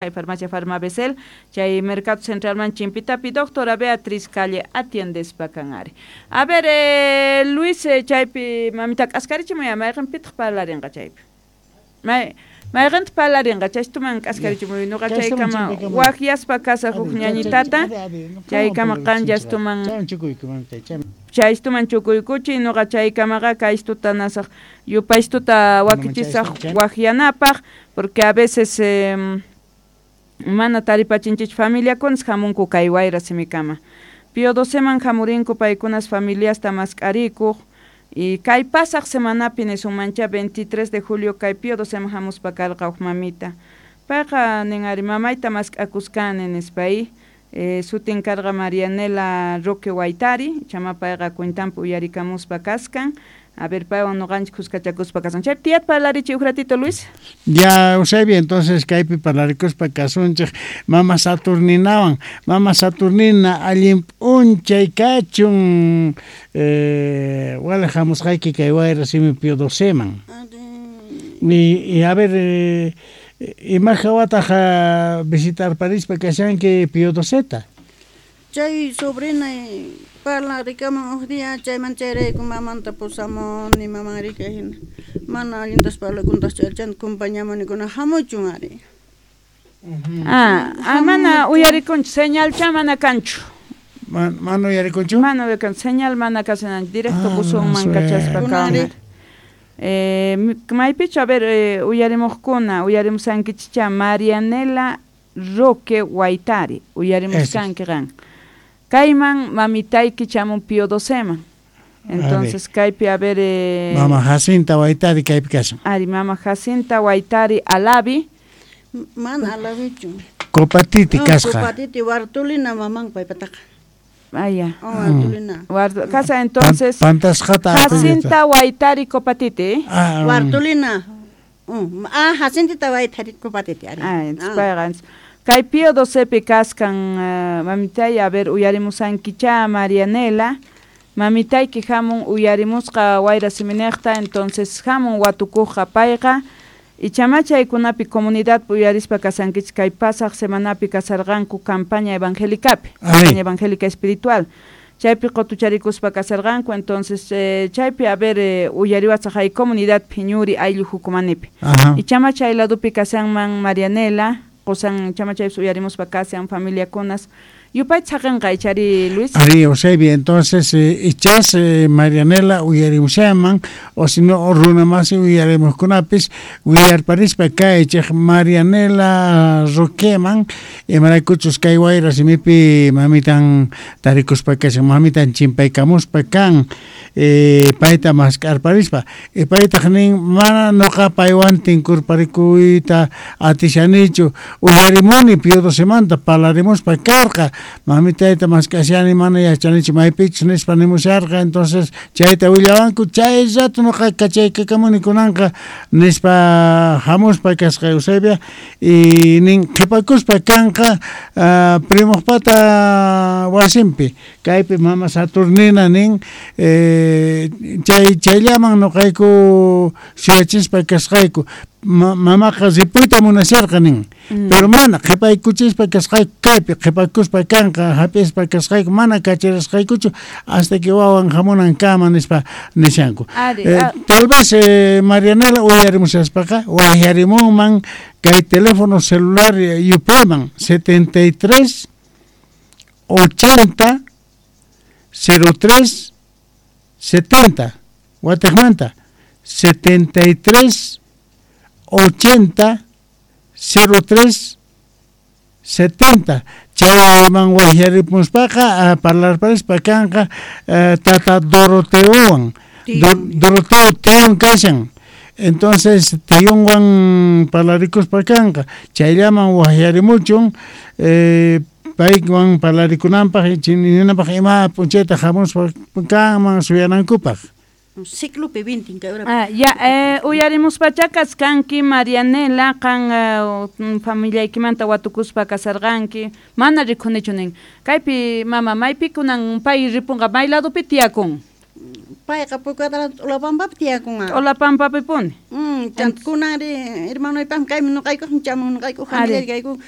Kay farmacia Farmabecel, chay Mercado Centralman chimpitapi doctora Beatriz Calle atiendespa kan ari. A ver, Luis, chaypi mamita k'askarichimuy, mayqinpitaq parlarinqa chaypi? Mayqintaq parlarinqa, chaystuman k'askarichimuy, nuqa chaykama waqyaspa kasaq huk ñañitata, chaykama qanllastuman chaystuman chukuykuchiy, nuqa chaykamaqa kaystuta nasaq yupaystuta wakichisaq waqyanapaq, porque a veces mana taripachinchich familiakunas hamunku kay wayra simikama. Pío Doceman hamurinku paykunas familiasta mask'arikuq, y kay pasaq semanapi nisunmancha 23 de julio kay Pío Doceman hamuspa karqa huk mamita. Payqa nin ari mamayta mask'akuskani nispa sutin karqa Marianela Roque Waitari, chama payqa cuentanpi uyarikamuspa kaskan. A ver, paywan nuqanchik kuskachakuspa kasun. Chaypi tiyat parlarichi uj ratito, Luis. Ya, Eusebio, entonces kaypi parlaricuspa kasunchik mama Saturninawan. Mama Saturnina allin p'unchay kachun, wala hamusqayki kay wayra simi Pío Doceman. Y a ver, ima hawataq visitarparispa kashanki Pío Doceta? Chay sobrina parlarikaman huk día chayman chayrayku mamanta pusamuni maman rika hina mana allintas parlakuntas chaychanta compañamunikuna hamuchun ari. Mana uyarikunchu, señalcha mana kanchu. Mana uyarikunchu? Mana uyarikunchu, señal mana kashan, directo buzonman kachaspa kan. Maypichu, a ver, uyarimuqkuna, uyarimusankichicha Marianela Roque Waitari, uyarimuskanki qan. Kayman mamitayki chamun Pío Doceman. Entonces, kaypi, a ver... Mama Jacinta Waitari kaypi kashan. Ari, mama Jacinta Waitari Alavi. Mana Alavichu. Copatiti kasqa. Copatiti, Bartolina maman paypataqa. Ah, ya. Oh, Bartolina. Casa, entonces, Pantasqata Jacinta Waitari Copatiti. Ah, Bartolina. Jacinta Waitari Copatiti. Ari. Ah, entonces, payqa, kay Pío Docepi kaskan, mamitay, a ver, uyarimusankicha Marianela, mamitayki hamun uyarimusqa wayra siminiqta, entonces hamun watukuqqa payqa, ichama chaykunapi comunidad uyarispa kasankichik kay pasaq semanapi kasarqanku campaña evangélicapi, campaña evangélica espiritual. Chaypi qotucharikuspa kasarqanku, entonces chaypi, a ver, uyariwasaq hay comunidad phiñuri ayllu hukumanipi. Ichama chay ladupi kasanman Marianela, qosan chama chaypis uyarimuspa kasan familiakunas. Yupayta saqenqa ichari, Luis. Ari, Eusebio, entonces, ichas Marianela uyarimushaman, o si no, runamasi uyarimuskunapis, uyarparispa kaychej Marianela Roqueman, imaraykuchus kay wayra simipi mamitan tarikuspa kashan, mamitan chimpaykamuspa kan, payta mask'arparispa, y paytaq nin, mana noqa paywan tinkurparikuyta atishanichu, uyarimuni Pío Docemanta parlarimuspa karqa, mamitayta mask'ashani mana yachanichu maypichus nispa nimusharqa, entonces chayta willawanku, chay rato noqa kachaykakamuni kunanqa nispa hamuspa kasqa Eusebia, y nin qhipakuspa kanqa primojpata wasinpi, kaypi mama Saturnina nin, chayllaman noqayku suyachispa kasqayku, mamaqa ripuyta munasharqa nin, pero mana qhipaykuchispa kasqayku kaypi qhipakuspa kanqa hap'ispa kasqayku mana kacharasqaykuchu hasta que wawan hamunankama nispa nishanku. Tal vez Marianela uyarimushaspaqa waqyarimunman kay teléfono celular yupayman 73 80 03 70 wataqmanta 73 80 03 70 chayman waqyarimuspaqa parlarparispa kanqa tata Doroteowan, Doroteo Teon kashan, entonces Teonwan parlarikuspa kanqa, chayllaman waqyarimuchun paywan parlarikunanpaq ninanpaq ima p'unchayta hamuspa kanman suyanankupaq. Ciclope 20 kay hora. Ya, uyarimuspacha kaskanki Marianela, qan familiaykimanta watukuspa kasarqanki, mana rikunichu nin. Kaypi mama maypi kunan pay ripunqa, may ladopi tiyakun? Payqa Pucatara T'ulapampapi tiyakun. T'ulapampapi puni. Kunanri hermanoypaq kaymi nuqaykuq chamun nuqaykuq familia kayku